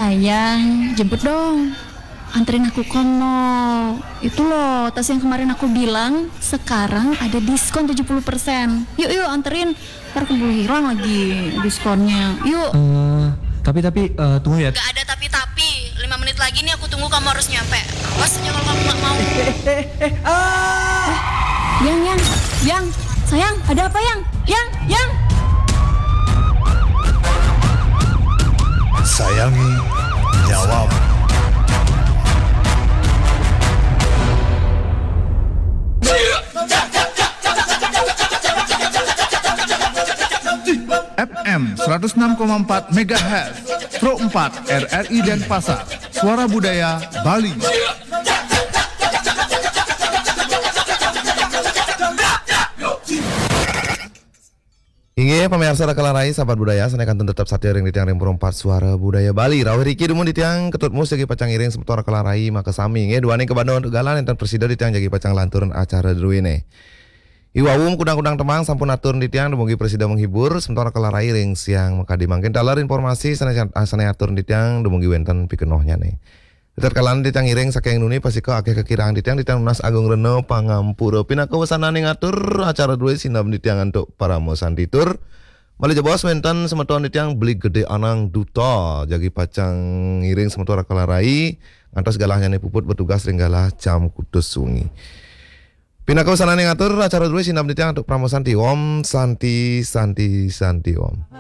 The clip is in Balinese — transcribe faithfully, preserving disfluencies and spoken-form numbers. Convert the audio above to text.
Sayang, jemput dong. Anterin aku ke mall. Itu loh, tas yang kemarin aku bilang sekarang ada diskon tujuh puluh persen. Yuk, yuk, anterin. Ntar keburu hilang lagi diskonnya. Yuk. Eh, tapi tapi eh, tunggu ya. Gak ada tapi-tapi. Lima menit lagi nih aku tunggu kamu harus nyampe. Awas aja kalau kamu nggak mau. Eh, ah. Yang, yang, yang. Sayang, ada apa, yang? Yang, yang. Sayangi nyawamu. F M seratus enam koma empat megahertz, Pro empat R R I Denpasar, Suara Budaya Bali. Inggih, pamiarsa Rakalarai, sahabat budaya, sané kantun tetep satia ring titiang ring Pro empat Suara Budaya Bali. Rawuh riki dumun titiang Ketut Mus jagi pacang ngiring semeton Rakalarai makasami. Nggih, duaning kabanda antuk galah nénten prasida titiang jagi pacang lanturang acara druéné. Iwau kudang-kudang tembang sampun atur titiang dumugi prasida menghibur semeton Rakalarai ring siang makadi. Mangkin taler informasi sané, sané atur titiang dumugi wénten pikenohnyané. Tatkala titiang ngiring saking nuni pastika akéh kakirang titiang, titiang nunas agung rena pangampura. Pinaka wesananing atur acara drué sineb titiang antuk parama santi tur malih jebos wénten semeton titiang Beli Gedé Anang Duta jagi pacang ngiring semeton Rakalarai ngantos galahnyané puput bertugas ring galah jam kutus wengi. Pinaka wesananing atur acara drué sineb titiang antuk parama santi. Om Santi Santi Santi Om.